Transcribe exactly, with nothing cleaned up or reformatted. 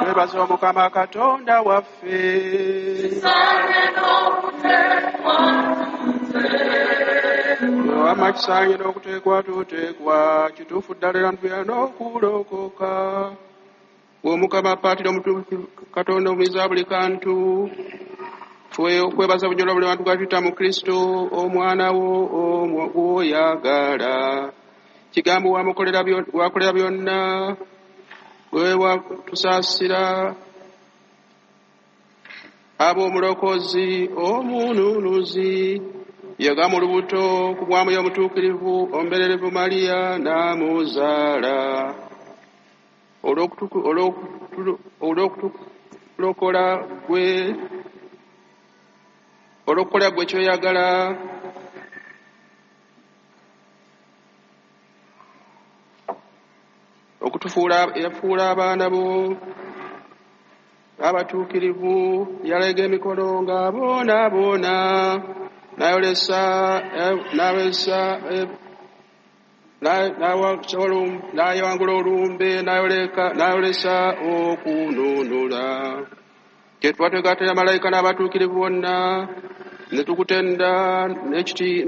Twebaza Omukama Katonda waffe. Wamma kisaanye n'okuteekwa tuteekwa, kituufu ddala era ntuya n'okulokoka. Omukama apaatira omutuufu Katonda omuyinza buli kantu, ffe okwebaza bunyolwa buli bantu gatuyita mu Kristo omwana wo gw'oyagala. Kigambo wamukolera wakolera byonna, gwe watusaasira ab'omulokozi omununuzi. Yaga mu lubuto ku bwa Mwoyo Omutuukirivu omubererevu Mariya n'amuzaala. Olw'okutulokola gwe olw'okukola gwe ky'oyagala, okutufuula yafuula abaana bo abatuukirivu, yalega emikono ng'aboonaboona, n'ayolesa n'awesa n'ayawangula olumbe, n'ayolesa okununula. Kyetuba twegattira malayika n'abatuukirivu bonna ne tukutenda n'ekiti.